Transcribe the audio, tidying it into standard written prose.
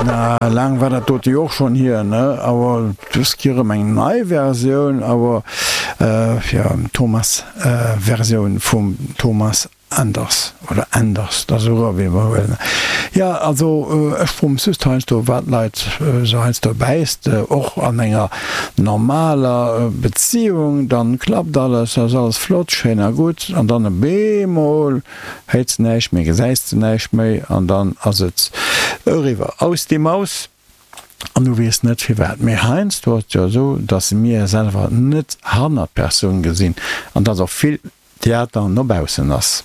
Na, laang war dat dote jo och schonn hier, ne? Awer dës Kéier erëm eng nei Versioun, awer jo, Thomas Versioun vum Thomas Anders oder Enders, dat ass esou wéi mer huelen. Jo, also ech froe mech just heiansdo, wat d'Leit esou heiansdo bäisst, och an enger normaler Beziehung, dann klappt alles, ass alles flott, schéin a gutt, an dann op eemol héits de näischt méi, gesäis de näischt méi an dann ass et eriwwer, aus die Maus. An du weess net firwat. Mee heiansdo ass et jo esou, dass mir selwer net hannert d'Persoun gesinn an dass och vill Theater no baussen ass.